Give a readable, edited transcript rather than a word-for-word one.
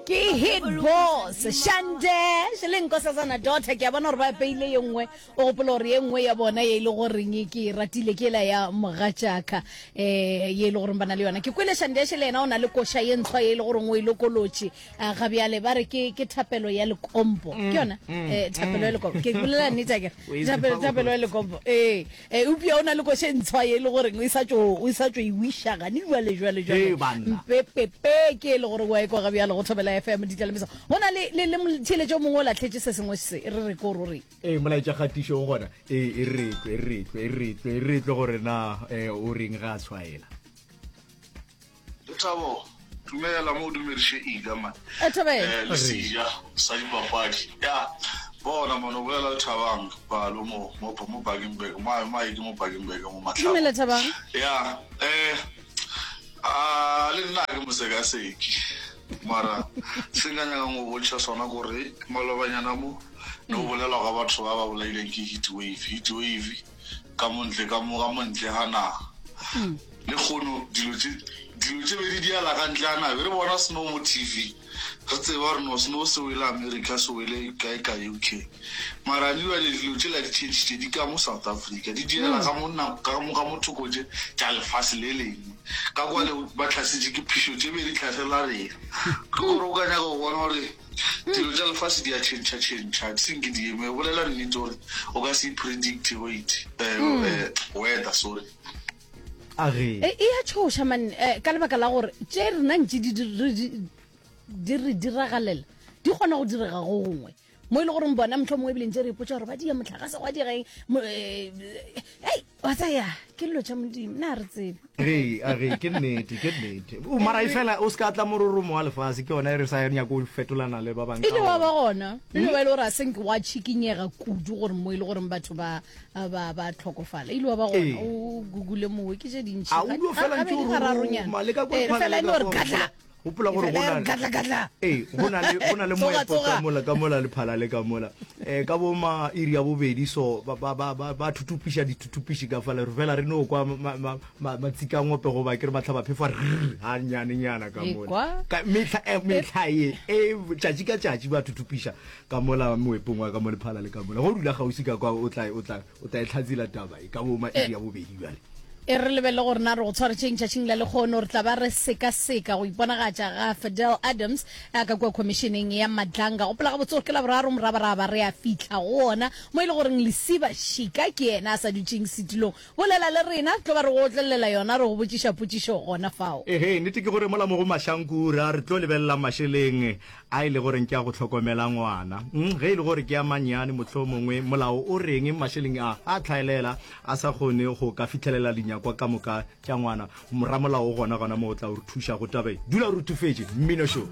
Ke hit boss shande le nkosazana daughter ke a bona gore ba peile ye nngwe o gopola gore ye nngwe ya bona ye e le goreng ke e ratile ke ela ya mogatšaka um ye e le goreng ba na le yona ke kwele shandeshe le yena o na le koša ye ntshwa ye e le goreng o e lokolotše A ga bjale ba re ke ke thapelo ya lekompo ke yona eh, thapelo ya lekompo ke bolela nnete akere O e tseba thapelo thapelo ya lekompo ee eh, eupša o na le koše ntshwa ye e le goreng o sa tšo o sa tšo e wiša gane jwale jwale jwale Hei, banna. mpepepe ke e le gore wa e kwa ga bjale go thobela fm ditlalemisa go na le le le motheeletši o mongwe o latlhetše se sengwe se re re ko ruri Ee, molaetša kgatišo o gona. Ee, e re tlwe, e re tlwe, e re tlwe, e re tlwe gore na eh, o reng ga a tshwaela. Lethabo, Dumela mo o dumediše Ida man. E Thobela. Eh, le seja sa dipapadi. Ya, bona man o bolela le Thabang Balo mo mo mo Bakenberg. Ma ma ke mo Bakenberg mo Matlhabo. Dumela Thabang. Ya, eh a le nna ke mosekaseki. Mara se nka nyakang go bontšha sona kore malobanyana mo ne go bolelwa ka batho ba ba bolaileng ke heat wave. Heat wave ka mo ntle ka mo ka mo ntle ga naga. Lekgono dilo tše dilo tše be di diala ka ntle ga naga. Be re bona snow mo TV, re tseba gore no snow se wele America, se wele kae ka UK. Mara ne bjale dilo tšela di tšhentšhitše, di ka mo South Africa, di diela ka mo na ka mo ka mo thoko tše tša lefase le lengwe. Ka kwale ba hlasetše ke phišo tše be di hlasela rena. Ke gore o ka nyaka go bona gore dilo tša lefase di a tšhentšha tšhentšha, di senke di eme. Bolela nnete gore o ka se e predicte wait, eh, eh, weather, sorry. A ge. E, e a tšhoša man eh, ka lebaka la gore tše rena ntše di, di, di, di re diragalela di kgona go direga go gongwe mo e le goreng bona motlho mongwe ebile ntse re ipotsa gore ba dia motlakase gwa direng eh, ei wa tsaya ke dilo tša modimo na re tsebe Re, a re, ke nnete, ke nnete. O mara e fela o se ka tla mororomo wa lefase ke yona e re sa nyako go fetolana le ba bangwe e ka le wa ona. ba gona e le ba e le gore a senke wa tšhikinyega kudu gore mo e le goreng batho ba ba ba tlhokofala ile wa ba gona Ee. o gugule mowe ke tše dintši A o dio fela ntše o roroma, le ka kwa Ee, phala fela le e no ka re kwa katla gopola gore Fela go e re na katla katla ee go na le go na le Tsoga, moepo ka tsoga. mola ka mola lephala le ka mola um ka bo ma iri ya bobedi so ba ba ba ba ba thuthupiša dithuthupiši ka fale re fela re no kwa ma- ma- ma- matsikangope goba ke re matlhabaphefo a rrr ganyanenyana ka mola Ekwa. Ka mehla eh, mehla ye e tšatši ka tšatši ba thuthupiša Ka mola moepong wa ka mo lephala le ka mola. Go dula kgauswi ka kwa o tla o tla o tla e hlatsela taba e ka bo ma iri ya bobedi bjale. E re lebelele gore na re go tshwaretšeng tšatšing la lekgono. Re tla ba re sekaseka go iponagatša ga Fidel Adams a ka kua khomišeneng ya Madlanga. Gopola gabotse gore ke Laboraro morabaraba re a fihla go ona mo e le goreng Lesiba Šika ke yena a sa dutšeng setulong. Bolela le rena, re tlo ba re go otlelela yona, re go botšiša potšišo gona fao. Ehe, nnete ke gore mola mo go Mashankura re tlo lebelela mašeleng a e le goreng ke a go hlokomela ngwana. Mm, ge e le gore ke a mannyane mohlomongwe molao o reng mašeleng a a tlhaelela a sa kgone go ka fihlelela dinyakwa ka moka tša ngwana. Ramolao o gona gona mo o tla o re thuša go taba e. Dula o ruthufetše, mmino šo.